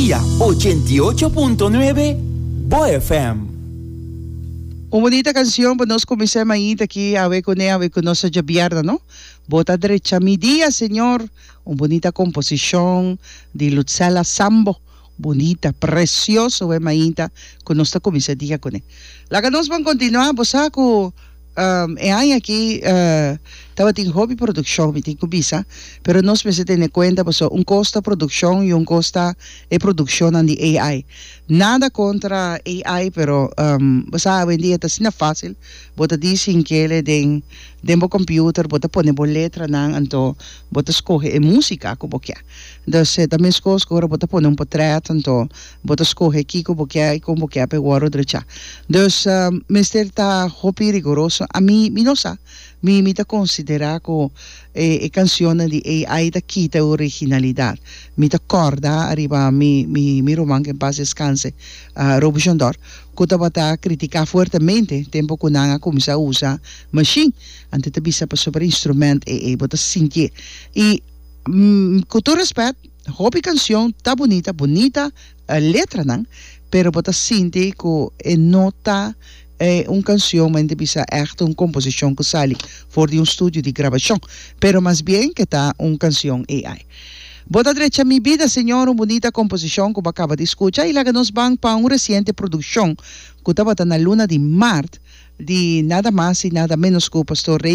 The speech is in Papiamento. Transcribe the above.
Via 88.9 Bo FM. Un bunita cancion pa nos cuminsa mainta aki awe cune awe cu nos ta djabièrnè no. Bo ta drecha mi dia Señor. Un bunita composicion di Lutzella Sambo. Bunita, precioso e mainta cu nos ta cuminsa dia cune. Laga nos ban continua bo sa cu e aña aki tabatin hopi produccion mi tin cu bisa pero nos mester tene cuenta pasobra un cos ta produccion y un cos ta e produccionnan di AI. Nada contra AI pero bo sa awendia ta asina facil bo ta di sin kere den den bo computer bo ta pone bo letranan anto bo ta scoge e musica cu bo kier. Dus e ta mescos cu ora bo ta pone un potret anto bo ta scoge kico bo kier y con bo kier pa e worde drecha. Dus mester ta hopi rigoroso. Ami mi no sa. Mi mi ta considera cu e e cancionnan di AI ta kita e originalidad. Mi ta corda ariba mi mi mi ruman que en paz descanse Roby Jondor cu tabata critica fuertemente tempo cu nan a cuminsa usa machine. Anto e ta bisa pasobra instrument e e bo ta sintié y Ku tur respet, hopi kanshon ta bunita, bunita letranan, pero bo ta sinti ku e no ta un kanshon men ta bisa ègt un komposishon ku sali for di un studio di grabashon, pero mas bien ke ta un kanshon AI. Bo ta drecha mi bida, Señor, un bunita komposishon ku bo a kaba di skucha i laga nos ban pa un resiente produkshon ku tabata na luna di mart di nada mas i nada menos ku Pastor Rey.